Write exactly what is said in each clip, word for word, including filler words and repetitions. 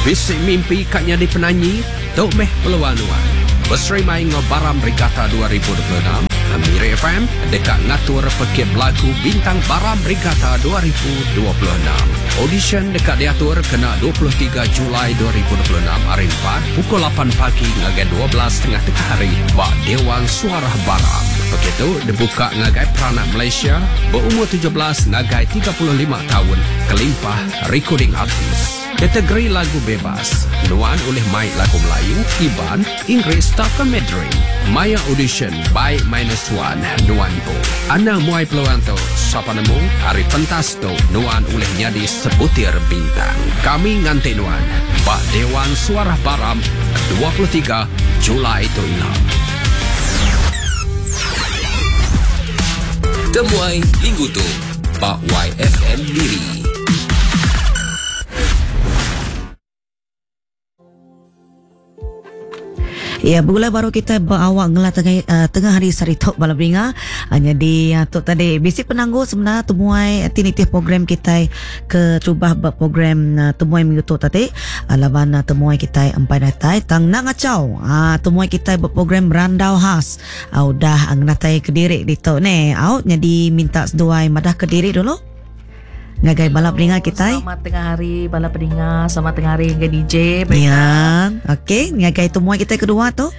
Bisi mimpi kat nyadi penyanyi, tok meh peluang nuan. Berserimai ngau Baram Regatta dua ribu dua puluh enam, Miri F M dekat ngatur pekit belagu Bintang Baram Regatta dua ribu dua puluh enam. Audition dekat diatur kena dua puluh tiga Julai dua ribu dua puluh enam hari empat pukul lapan pagi ngagai dua belas setengah tengah hari bak Dewan Suara Baram. Begitu dibuka ngagai peranak Malaysia berumur tujuh belas ngagai tiga puluh lima tahun kelimpah recording artis. Kategori lagu bebas. Nuan oleh main lagu Melayu, Iban, Inggeris atau Mandarin. Maya audition by minus one Nuan Po. Anda muai peluang tu. Sapa nemu hari pentas tu Nuan oleh nyadi sebutir bintang. Kami nganti Nuan. Bak Dewan Suara Baram dua puluh tiga Julai tu ila. Temuai minggu tu Bak Y F M Miri. Ya, bergulai baru kita berawak ngelah tengah, uh, tengah hari saritok bala beringa. Hanya di uh, tok tadi bisi penangguh sebenarnya temuai tinitih program kita ke cuba buat program uh, temuai minggu tok tadi. Uh, laban uh, temuai kita empai datai tang nak ngacau. Ah uh, temuai kita buat program randau khas. Uh, udah uh, ngenatai ke diri di tok ni. Out jadi minta seduai madah ke diri dulu. Ngagai bala peninga kita. Selamat tengah hari bala peninga, selamat tengah hari dengan D J. Ya, okey, ngagai temuai kita kedua tu.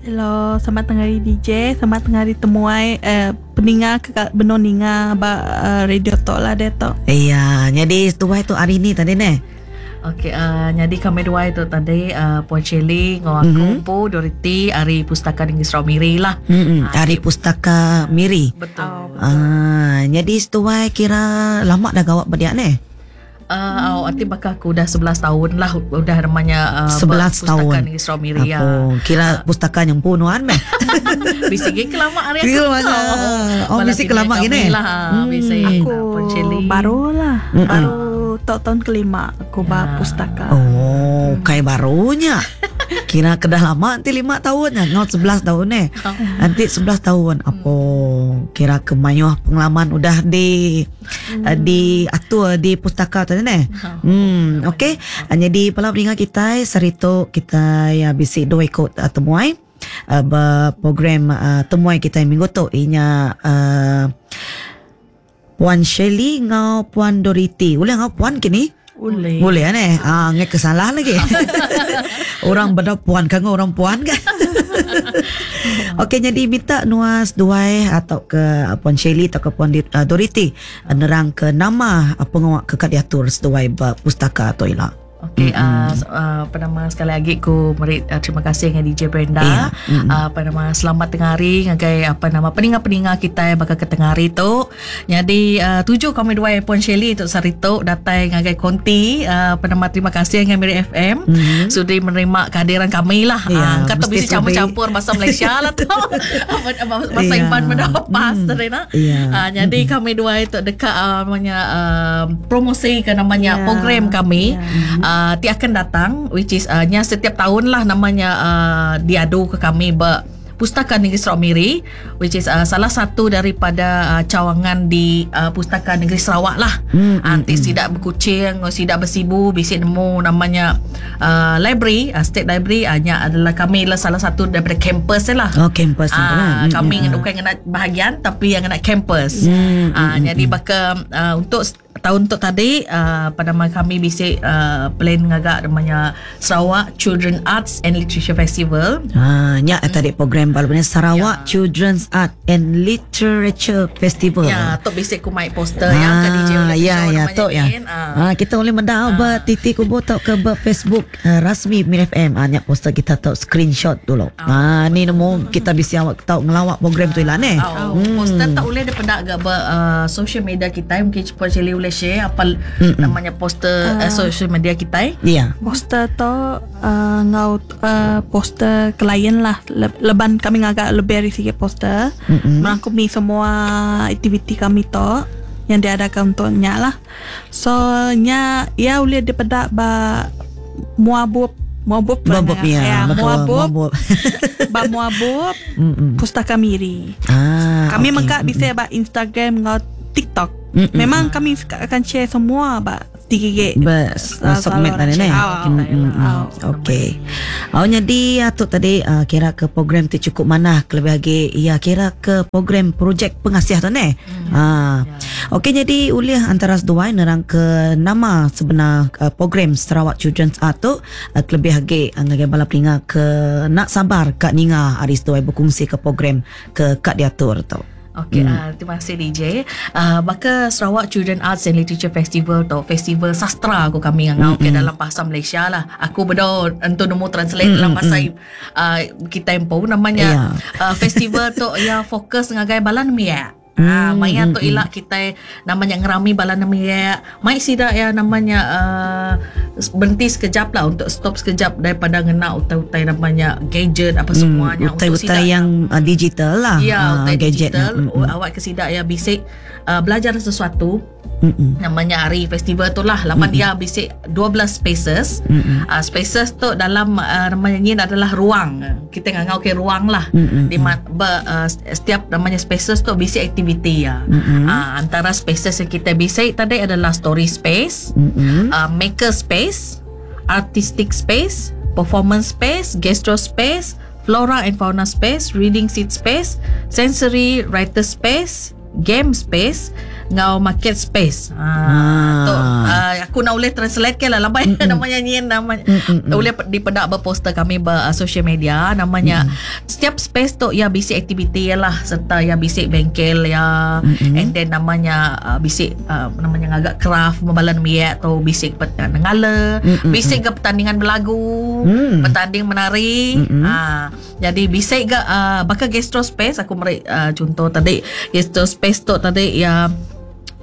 Hello, selamat tengah hari D J, selamat tengah hari temuai eh, peninga ke benon ninga ba uh, radio tok lah dia tok. Iya, jadi tuai tu hari ni tadi ne. Okey, uh, jadi kami dua itu tadi uh, Puan Shirley ngau aku mm-hmm. Pu Dorothy hari Pustaka Negeri Sarawak Miri lah. Mm-hmm. Hari Pustaka Miri. Betul. Ah, uh, jadi setuai kira lama dah gawak berdiak ni. Uh, oh, arti bakal aku dah sebelas tahun lah udah namanya uh, sebelas Pustaka tahun. Negeri Sarawak Miri ya. Kira pustaka yang pun nuan meh. Bisik ke lama hari aku. Oh, bisik ke lama gini. Lah, hmm. Bisik. Aku baru lah. Mm-mm. Baru tahun kelima aku ya. Bah pustaka. Oh, kayak barunya. Kira kedah lama nanti lima tahun ya, not sebelas tahun ni. Nanti sebelas tahun. Apa kira kemayuh pengalaman udah di hmm. uh, di atur di pustaka tadi ni. Hmm, okey. Jadi pala pendengar kita serito kita ya bisi dua ikut uh, temuai uh, program uh, temuai kita minggu tu inya uh, Puan Shirley ngau Puan Dorothy. Boleh ngau Puan kini? Boleh. Boleh kan eh? Ah, ngai kesalah lagi. Orang benda puan kan orang puan kan. Okey, jadi minta nuas duai atau ke Puan Shirley atau ke Puan uh, Dorothy nerang ke nama pengawak ke kat diatur seduai pustaka atau ila. Okey, mm-hmm. uh, uh, apa nama sekali lagi ku meri uh, terima kasih dengan D J Brenda. Yeah. Mm-hmm. Uh, apa nama selamat tengah hari ngagai apa nama peninga-peninga kita yang bakal ke tengah hari tu. Jadi uh, tuju kami dua Puan Shirley tu sari tu datai ngagai konti uh, apa nama terima kasih dengan Miri F M mm-hmm. sudi menerima kehadiran kami lah. Yeah, uh, kata bisa campur-campur bahasa Malaysia lah tu. Bahasa yeah. Iban benda pas mm. tadi nak. Yeah. Uh, jadi mm-hmm. kami dua itu dekat uh, namanya uh, promosi ke namanya yeah. program kami. Yeah. Uh, ti akan datang which is uh, nya setiap tahun lah namanya uh, diadu ke kami ber Pustaka Negeri Sarawak Miri which is uh, salah satu daripada uh, cawangan di uh, Pustaka Negeri Sarawak lah. Hmm, Nanti hmm, sidak berkucing, sidak bersibu, bisik nemu namanya uh, library, uh, state library uh, nya adalah kami lah salah satu daripada kampus lah. Oh, kampus uh, lah. Kami hmm, bukan kena bahagian tapi yang kena kampus. Hmm, uh, hmm, jadi hmm. bakal uh, untuk tahun tu tadi uh, pada kami bisik uh, plan ngagak namanya Sarawak Children Arts and Literature Festival. Ha, nya hmm. tadi program baru ni Sarawak ya. Children's Art and Literature Festival. Ya, tok bisik ku mai poster ha, yang ke D J oleh ya ya tok ya. Ha. Ha, kita boleh mendau ha. ber titik kubu tok ke ber Facebook uh, rasmi Miri F M. Ha, nya poster kita tok screenshot dulu. Ha, ni nemu kita bisik awak tok ngelawak program tu lah ni. Oh, hmm. Poster tak boleh daripada agak ber uh, social media kita mungkin cepat boleh boleh share apa Mm-mm. namanya poster uh, uh, social media kita. Ya. Yeah. Poster tu uh, ngau uh, poster klien lah. Le- leban kami agak lebih dari sikit poster. Mm-mm. Merangkumi semua aktiviti kami tu yang diadakan untuknya lah. So nya ya boleh daripada ba muabub muabub Muabub ya, ya betul, muabub muabub. ba muabub Mm-mm. Pustaka Miri. Ah, Kami okey. mengkak bisa ba Instagram ngau TikTok. Mm-mm. Memang kami akan share semua ba Tigigit. Bes uh, submit tadi ni. Oh, Mm, mm, mm. Okey. Oh jadi tu tadi uh, kira ke program tu cukup manah kelebih lagi ya kira ke program projek pengasih tu ni. Ha. Okey jadi ulih antara seduai nerang ke nama sebenar uh, program Sarawak Children's Art tu uh, kelebih lagi uh, ngagai bala pelinga ke nak sabar kat ninga hari seduai berkongsi ke program ke kat diatur tu. Okey, hmm. uh, terima kasih D J. Uh, maka Sarawak Children Arts and Literature Festival tu festival sastra aku kami ngangau mm-hmm. ke dalam bahasa Malaysia lah. Aku bedo entu nemu translate mm-hmm. dalam bahasa uh, kita empu namanya Yeah. uh, festival tu ya fokus ngagai balan miak. Ah, maya tu ilak kita namanya ngerami bala namanya mai sida ya namanya uh, berhenti sekejap lah untuk stop sekejap daripada ngena utai-utai namanya gadget apa semuanya Hmm, utai-utai yang uh, digital lah. Ya, Ah, utai gadget. digital Mm, mm. awak ke sidak ya bisik uh, belajar sesuatu Mm-mm. namanya hari festival tu lah lapan dia bisik dua belas spaces. Mm-mm. Uh, spaces tu dalam uh, namanya ni adalah ruang. Kita ngangau ke ruang lah. Mm-mm. Di ma- ber, uh, setiap namanya spaces tu bisik aktiviti ya. Mm-mm. Uh, antara spaces yang kita bisik tadi adalah story space, Mm-mm. uh, maker space, artistic space, performance space, gastro space, flora and fauna space, reading seat space, sensory writer space, game space, ngau market space. Ah, Ah. tu uh, aku nak boleh translate ke lah lambai namanya nyin namanya boleh dipedak berposter kami ber uh, social media namanya setiap space tu ya bisik aktiviti ya lah serta ya bisik bengkel ya Mm-mm. and then namanya uh, bisik uh, namanya ngagak craft membalan miak atau bisik pertandingan ngala Mm-mm. bisik ke pertandingan berlagu Mm. pertanding menari Mm-mm. ah jadi bisik ke uh, bakal gastro space aku meri uh, contoh tadi gastro space tu tadi ya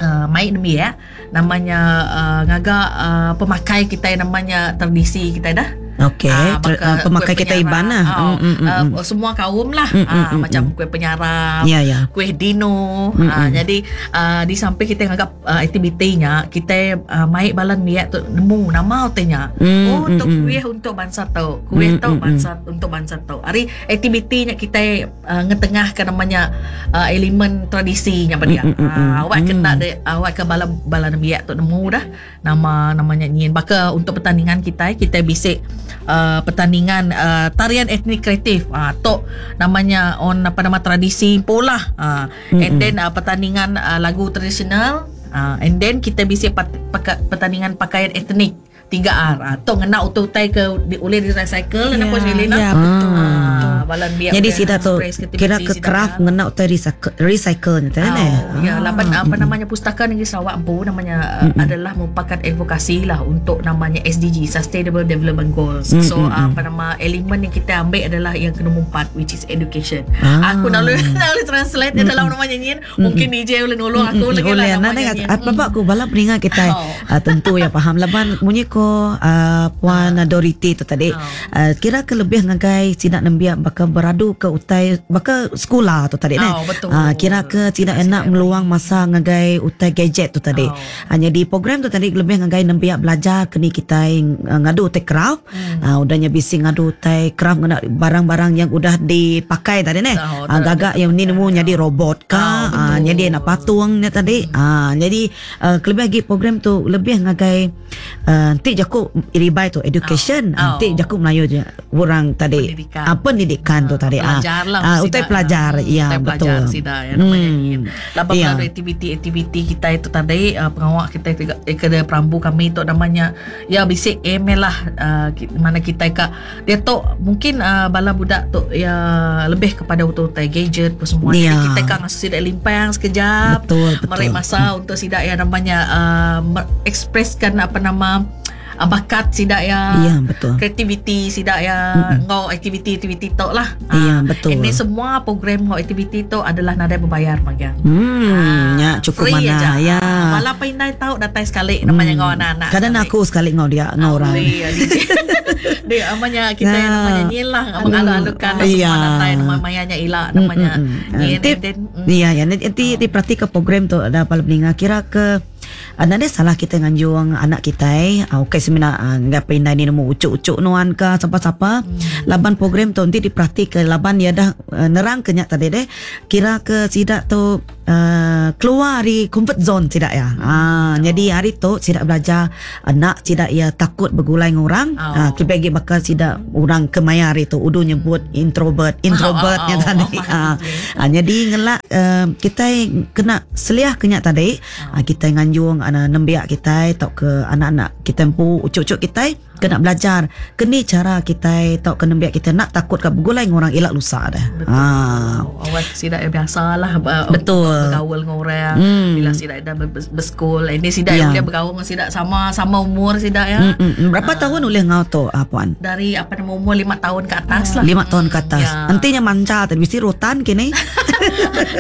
Uh, main demi ya namanya uh, ngagak uh, pemakai kita yang namanya tradisi kita dah. Okey, Ah, ter- baka uh, pemakai kuih kita Iban lah. Oh, Mm, mm, mm, uh, mm. semua kaum lah. Mm, mm, Ah, mm, macam kuih penyarap, Ya, ya. kuih dino. Mm, Ah, mm. jadi uh, di samping kita nganggap uh, aktivitinya, kita uh, maik balan miak tu nemu nama utenya. Mm, oh, untuk mm, mm. kuih untuk bangsa tau. Kuih Mm, tau mm, mm. bangsa untuk bangsa tau. Hari aktivitinya kita uh, ngetengahkan namanya uh, elemen tradisinya pada dia. Mm, mm, mm, Ah, awak mm. kena de, awak ke bala bala nembiak tu nemu dah nama namanya nyin. Baka untuk pertandingan kita kita bisik uh, pertandingan uh, tarian etnik kreatif. Ah uh, tok namanya on apa nama tradisi pola. Ah uh, and then uh, pertandingan uh, lagu tradisional. Ah uh, and then kita bisik pat, paka, pertandingan pakaian etnik tiga R. Ah tok ngena utai-utai ke di, oleh di recycle yeah, apa Shelina. Ya, betul. Ah, balan biak Jadi boleh sida tu express kira creativity ke sida craft kan. ngena utai recycle recycle ni tadi Oh, eh. ya, lapan apa namanya Pustaka Negeri Sarawak empu namanya mm adalah merupakan advokasi lah untuk namanya S D G Sustainable Development Goals. Mm, So mm, mm. apa nama elemen yang kita ambil adalah yang ke nombor empat which is education. Ah. Aku nak boleh nak boleh translate mm. dalam namanya nyin. Mungkin D J boleh nolong aku lagi lah Boleh nak namanya dengar nyin. apa apa aku bala peningat kita Oh. uh, tentu ya faham laban munyi ko uh, puan uh. Doriti tu tadi Oh. uh, kira ke lebih ngagai sidak nembiak bakal beradu ke utai bakal sekolah tu tadi Oh, betul. Ah, kira ke tidak enak meluang masa ngagai utai gadget tu tadi. Oh. Oh. Jadi program tu tadi lebih ngagai nembiak belajar kini kita uh, ngadu utai craft. Hmm. Uh, udahnya bisi ngadu utai craft ngena barang-barang yang udah dipakai tadi neh. Oh, Uh, gagak yang ni nemu jadi robot ka, Oh, ah, betul. jadi nak patung ni tadi. Ah, jadi uh, lebih lagi program tu lebih ngagai uh, nanti jaku ribai tu education, Oh. oh. nanti jaku Melayu je orang tadi. Pendidikan. Ah, pendidikan tu tadi. Ah, Pelajar lah Ah, sida. utai pelajar. Ya, Utai pelajar betul. sida ya namanya Hmm. Laban Ya. melalui aktiviti-aktiviti kita itu tadi uh, pengawak kita itu eh, ke perambu kami itu namanya ya bisik email lah uh, ki- mana kita kak dia tu mungkin uh, bala budak tu ya lebih kepada utai-utai gadget apa semua. Ya. Jadi kita kan ngasuh sidak limpang sekejap. Betul, betul. Merik masa untuk sidak ya namanya uh, ekspreskan apa nama uh, bakat sidak ya. Ya, betul. Kreativiti sidak ya ngau aktiviti-aktiviti tok lah. Ya, Ah, betul. Ini semua program ngau aktiviti tu adalah nadai berbayar bagian. Hmm, ya cukup Ah, free mana aja. ya. Malah pandai tahu datang sekali namanya ngau anak-anak. Kadang sekali. aku sekali ngau dia ngau orang. Boleh, ya, dia, dia namanya kita yang Nah. namanya nyilah mengalu-alukan lah Iya. semua datang nama mayanya ila namanya. Mm, mm, mm. Nyin, Nanti, and then, mm. iya ya nanti, nanti diperhati ke program tu ada pala peninga kira ke Anak dia salah kita nganjuang anak kita eh. Ah, okey semina ah, enggak pindah ni nemu ucuk-ucuk nuan ke siapa-siapa. Hmm. Laban program tu nanti diperhati ke laban dia dah uh, nerang kenyak tadi deh. Kira ke sidak tu uh, keluar dari comfort zone tidak ya. Ah, Oh. jadi hari tu tidak belajar anak tidak ya takut bergulai dengan orang. Oh. Ah, kita pergi bakal tidak orang kemaya hari tu udu nyebut introvert, introvertnya Oh, oh, oh, tadi. oh, Ah, ah, jadi ngelak uh, kita kena seliah kenyak tadi. Oh. Ah, kita nganjung anak nembiak kita atau ke anak-anak kita empu ucuk-ucuk kita kena belajar kini cara kita atau ke nembiak kita nak takut ke bergulai dengan orang elak lusa dah. Betul. Ah. Oh, awak sidak yang biasa lah ber- Betul. bergaul dengan orang Hmm. bila sidak dah ber- ber- bersekol ini sidak Ya. yang boleh bergaul dengan sidak sama sama umur sidak ya Mm, mm, mm. Berapa tahun oleh ngau tu ah, puan? dari apa nama umur lima tahun ke atas lah Lima tahun ke atas. Ya. Nantinya manca tadi mesti rotan kini.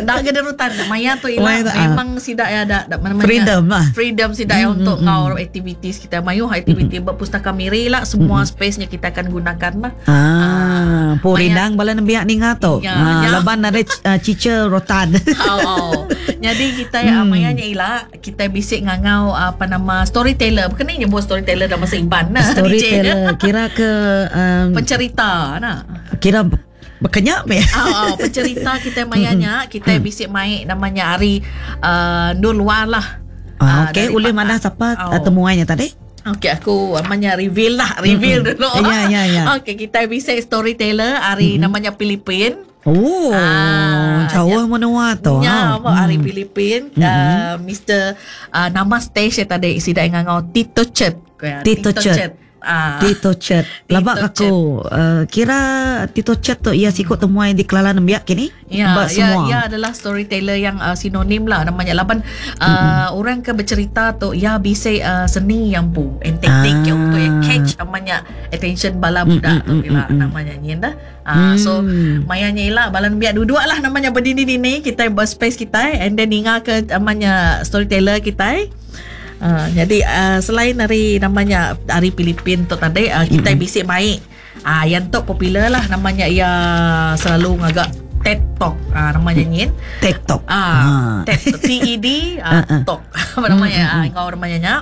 Dah kena rutan Maya tu Maya ilah tu, ah. memang sidak ya dah, dah mana Freedom lah. Freedom sidak ya untuk kau activities kita mayu aktiviti berpustaka miri lah semua space-nya kita akan gunakan lah. Ah, po Maya- rindang bala nembiak ni ngau tu. Ya, Ah, ya. laban ada uh, cica rotan. Oh, oh. Jadi kita ya hmm. Maya nya ila kita bisik ngangau apa nama storyteller. Bukan ni nyebut storyteller dalam bahasa Iban nah. Storyteller kira ke um, Pencerita nah. kira berkenyak be. Oh, oh, pencerita kita mayanya kita bisik mai namanya Ari uh, Nur Luar lah. Ah, okey, dari oleh Pak- mana siapa Oh. oh. temuannya tadi? Okey, aku namanya reveal lah, reveal Mm-mm. dulu. Ya, ya, ya. Okey, kita bisa storyteller hari mm-hmm. namanya Filipin. Oh, Ah, jauh menua tu. Ya, ah. apa hari Filipin, uh, Mister Uh, nama stage tadi sida ngangau Tito Chet. Ya, Tito Chet. Ah. Tito Chet. Labak Tito aku uh, kira Tito Chet tu ia sikut temuan di Kelala Nembiak kini. Ya, Bak ya, semua. ya adalah storyteller yang uh, sinonim lah namanya. Laban uh, mm-hmm. orang ke bercerita tu ya bisa uh, seni yang pu and taktik Ah. yang untuk yang catch namanya attention bala budak tu Mm, mm, ila mm, mm. namanya nyin dah. Uh, so Mm. mayanya ila bala biar duduk lah namanya berdiri ni kita berspace kita and then ninga ke namanya storyteller kita. Uh, jadi uh, selain dari namanya dari Filipin tu tadi uh, kita mm-hmm. bisik baik. Ah uh, yang tu popular lah namanya ia selalu ngagak TED Talk ah namanya nyin. TikTok. Ah, TED T E D ah, Ah, ah. Talk. Apa namanya? Ah kau namanya nya.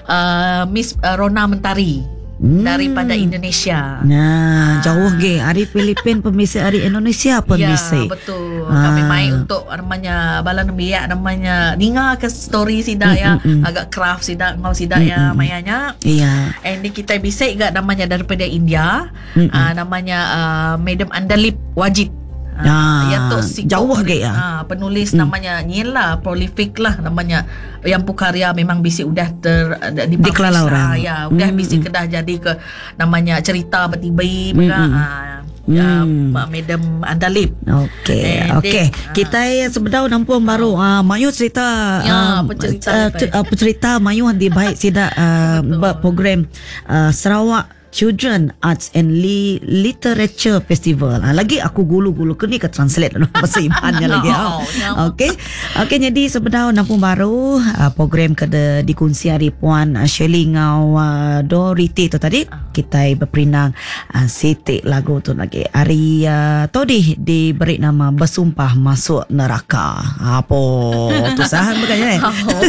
Uh, Miss uh, Rona Mentari Hmm. daripada Indonesia. Nah, jauh ge. Hari Filipin pemisi, hari Indonesia pemisi. Ya, betul. Kami Ah. main untuk namanya bala nembiak namanya ninga ke story sida ya, Mm, mm, mm. agak craft sida ngau sida ya mayanya. Iya. And ni kita bisa gak namanya daripada India, Mm-mm. uh, namanya uh, Madam Andalip Wajid. Ah, ya tu si jauh ge ya. Ah, penulis mm. namanya nyin lah, prolific lah namanya. Yang pukarya memang bisi udah ter di Dikelala orang. Ah, ya, udah Mm, bisi kedah jadi ke namanya cerita bertibi mm, Mm, mm. ah, ya, Mm. Madam Andalip. Okey, Eh, okey. dek, ah. Kita eh, sebenar nampung baru ah mayu cerita Ya, ah, pencerita ah, ni, cer- ah, pencerita mayu di baik sida ah, program ah, Sarawak Children Arts and Li- Literature Festival. Ah, lagi aku gulu-gulu ke ni ke translate dalam bahasa Ibannya lagi. Oh, Oh. ya. Okey. Okey jadi sebenar nampung baru ah, program ke de, dikunci hari Puan ah, Shirley ngau ah, Doriti tu tadi. Kita berperinang ah, sitik lagu tu lagi. Hari uh, tadi diberi nama Bersumpah Masuk Neraka. Apa tu sahan bukannya eh? Oh.